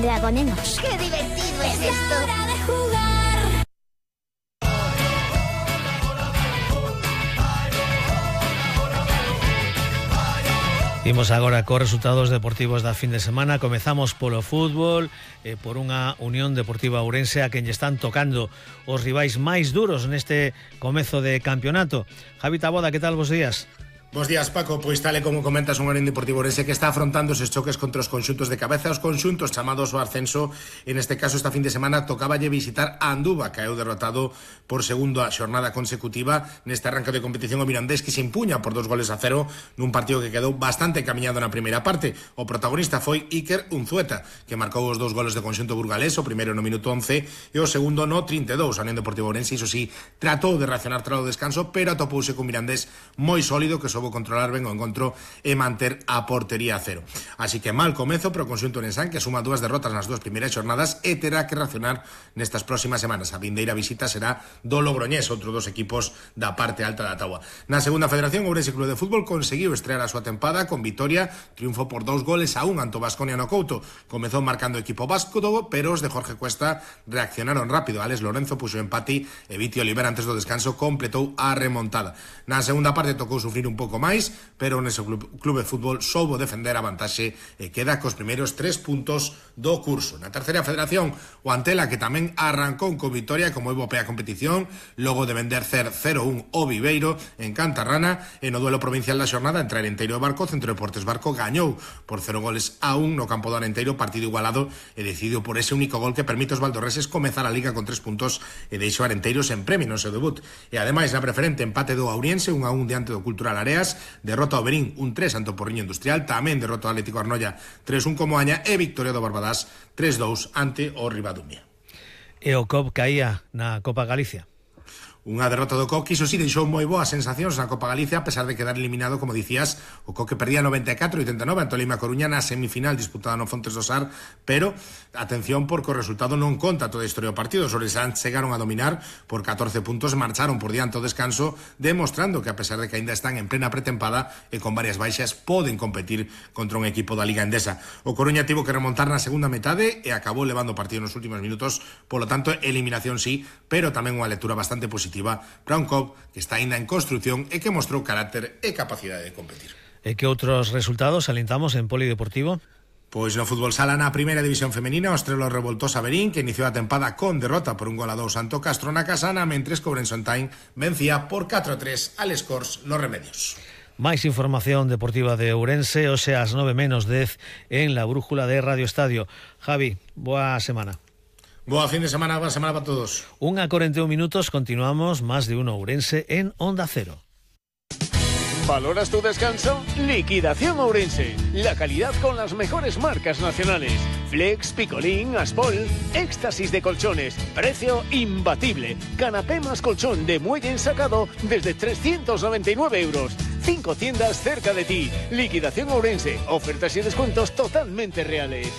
Dragonemos. ¡Qué divertido es esto! ¡Hora de jugar! Imos agora cos resultados deportivos da fin de semana. Comezamos polo fútbol, por unha Unión Deportiva Ourense a quen lle están tocando os rivais máis duros neste comezo de campeonato. Javi Taboada, que tal, bos días? Bos días, Paco. Pois tal e como comentas, un Unión Deportivo Ourense que está afrontando eses choques contra os conxuntos de cabeza, os conxuntos chamados ao ascenso. En este caso, esta fin de semana tocáballe visitar a Anduva, que caeu derrotado por segunda xornada consecutiva neste arranque de competición. O Mirandés, que se impuña por 2-0 nun partido que quedou bastante camiñado na primeira parte. O protagonista foi Iker Unzueta, que marcou os 2 goles de conxunto burgalés, o primeiro no minuto 11 e o segundo no 32. A Unión Deportiva Ourense, iso sí, tratou de reaccionar tras o descanso, pero atopouse con Mirandés moi sólido, que soubo controlar ben o encontro e manter a portería a cero. Así que mal comezo pero o conxunto ourensán, que suma 2 derrotas nas 2 primeiras xornadas e terá que reaccionar nestas próximas semanas. A vindeira visita será do Logroñés, outro dos equipos da parte alta da táboa. Na segunda federación, o Ourense Club de Fútbol conseguiu estrear a súa tempada con vitoria, triunfo por 2-1 ante o Baskonia no Couto. Comezou marcando o equipo vasco, pero os de Jorge Cuesta reaccionaron rápido. Alex Lorenzo puxo empate e Viti Oliver antes do descanso completou a remontada. Na segunda parte tocou sufrir un pouco máis, pero nese club de fútbol soubo defender a vantaxe e queda cos primeiros 3 puntos do curso. Na terceira federación, o Antela, que tamén arrancou con vitoria como europea competición, logo de vender 0-1 o Viveiro en Cantarrana, e no duelo provincial da xornada entre Arenteiro e Barco, Centro Deportes Barco gañou por 0-1 no campo do Arenteiro, partido igualado e decidido por ese único gol que permite aos valdorreses comezar a liga con 3 puntos e deixou Arenteiro sen premio no seu debut. E ademais, na preferente, empate do Auriense 1-1 diante do Cultural Areas, derrota ao Berín 1-3 ante o Porriño Industrial, tamén derrota ao Atlético Arnoia 3-1 como Aña e victoria do Barbadás 3-2 ante o Ribadumia. E o COP caía na Copa Galicia. Unha derrota do Coque, iso sí, deixou moi boas sensacións na Copa Galicia, a pesar de quedar eliminado, como dicías. O Coque perdía 94-89 ante o Lima Coruña na semifinal disputada no Fontes do Sar, pero atención, porque o resultado non conta toda a historia do partido. Os ourensáns chegaron a dominar por 14 puntos e marcharon por diante ao descanso, demostrando que, a pesar de que aínda están en plena pretempada e con varias baixas, poden competir contra un equipo da Liga Endesa. O Coruña tivo que remontar na segunda metade e acabou levando o partido nos últimos minutos, polo tanto, eliminación sí, pero tamén unha lectura bastante positiva para un COP que está aínda en construción e que mostrou carácter e capacidade de competir. E que outros resultados alentamos en polideportivo? Pois no fútbol sala, na primeira división femenina, o Estrela revoltosa Berín, que iniciou a tempada con derrota por 1-2 ante o Castro na Casana, mentres que Ourense Ontain vencía por 4-3 al Escors nos Remedios. Máis información deportiva de Ourense, hoxe ás 9:10 en la brújula de Radio Estadio. Javi, boa semana. Boa fin de semana, boa semana para todos. 1:41, continuamos Más de Uno Ourense en Onda Cero. ¿Valoras tu descanso? Liquidación Ourense. La calidad con las mejores marcas nacionales. Flex, Picolín, Aspol, éxtasis de colchones. Precio imbatible. Canapé más colchón de muelle ensacado desde 399 euros. 5 tiendas cerca de ti. Liquidación Ourense. Ofertas y descuentos totalmente reales.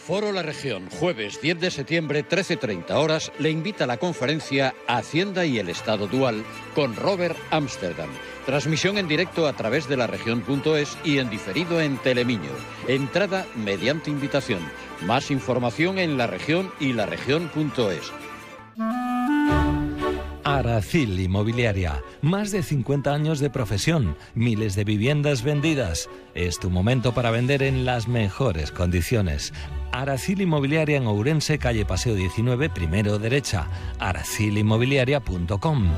Foro La Región, jueves 10 de septiembre, 13:30 horas, le invita a la conferencia Hacienda y el Estado Dual con Robert Amsterdam. Transmisión en directo a través de laregion.es y en diferido en Telemiño. Entrada mediante invitación. Más información en La Región y laregion.es. Aracil Inmobiliaria, más de 50 años de profesión, miles de viviendas vendidas. Es tu momento para vender en las mejores condiciones. Aracil Inmobiliaria en Ourense, calle Paseo 19, primero derecha. aracilinmobiliaria.com.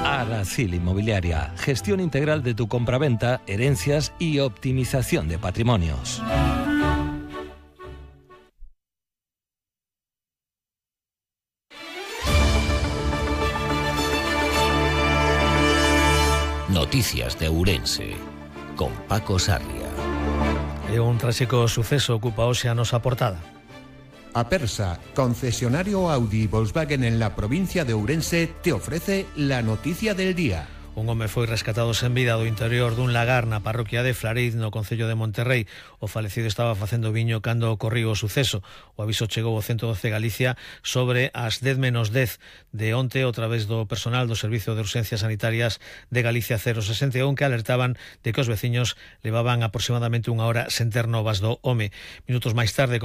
Aracil Inmobiliaria, gestión integral de tu compraventa, herencias y optimización de patrimonios. Noticias de Ourense, con Paco Sarria. E un tráxico suceso ocupa hoxe a nosa portada. Apersa, concesionario Audi y Volkswagen en la provincia de Ourense, te ofrece la noticia del día. Un home foi rescatado sen vida do interior dun lagar na parroquia de Flariz, no concello de Monterrey. O falecido estaba facendo viño cando ocorriu o suceso. O aviso chegou ao 112 Galicia sobre as 10:10 de onte a través do personal do Servicio de Urxencias Sanitarias de Galicia 061, que alertaban de que os veciños levaban aproximadamente unha hora sen ter novas do home. Minutos máis tarde,